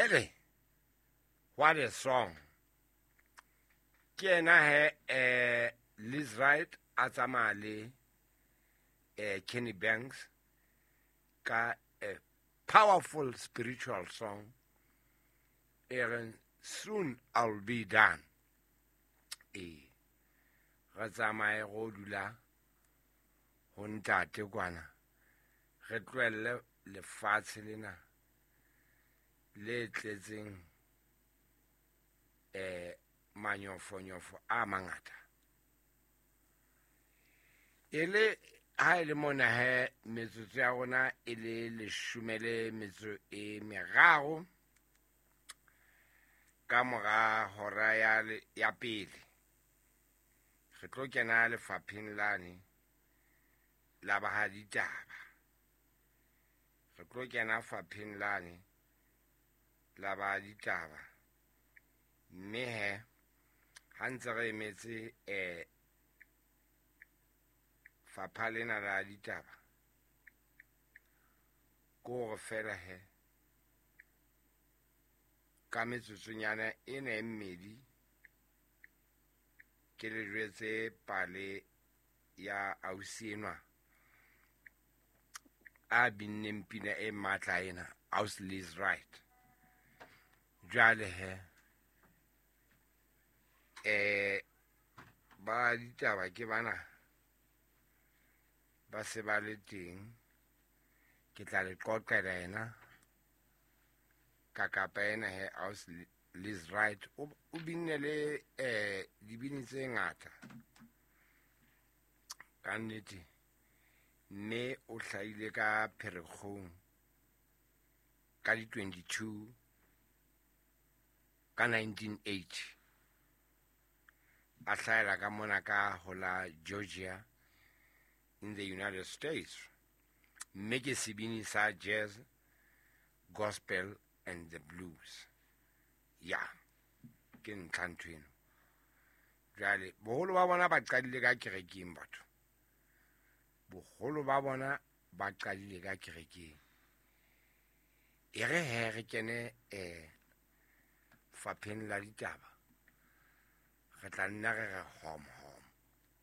Hele, what a song. Ke ena he Liz Wright a tsamaya le Kenny Banks ka a powerful spiritual song e reng Soon I'll Be Done. Ee, re tsamaye go dula ho ntate kwana, re tlohelle lefatshe lena le tletseng manyofonyofo a mangata. E le ha e le mona he metsotso ya rona e le leshome le metso e meraro ka mora hora ya pele, re tlo kena lefapheng lane la ba ditaba. Re tlo kena fapheng lane la ba ditaba, mme he ha ntse re emetse fapha lena la ditaba, ke hore fela he ka metsotsonyana ena e mmedi ke le jwetse pale ya ausi enwa a binneng pina e matla ena, Ausi Liz Wright. Jwale he ba ditaba ke bana ba se ba le teng, ke tla le qoqela ena ka kapa ena he Ausi Liz Wright o binne le dibini tse ngata ka nnete, mme o hlahile ka Pherekgong ka di 22 ka 1980, a hlahela ka mona ka ho la Georgia in the United States, mme ke sebini sa jazz, gospel and the blues. Ya, ke ntlha ntho eno. Jwale boholo ba bona ba qadile ka kerekeng batho. Boholo ba bona ba qadile ka kerekeng. E re he re kene fapheng la ditaba, re tla nna re re hom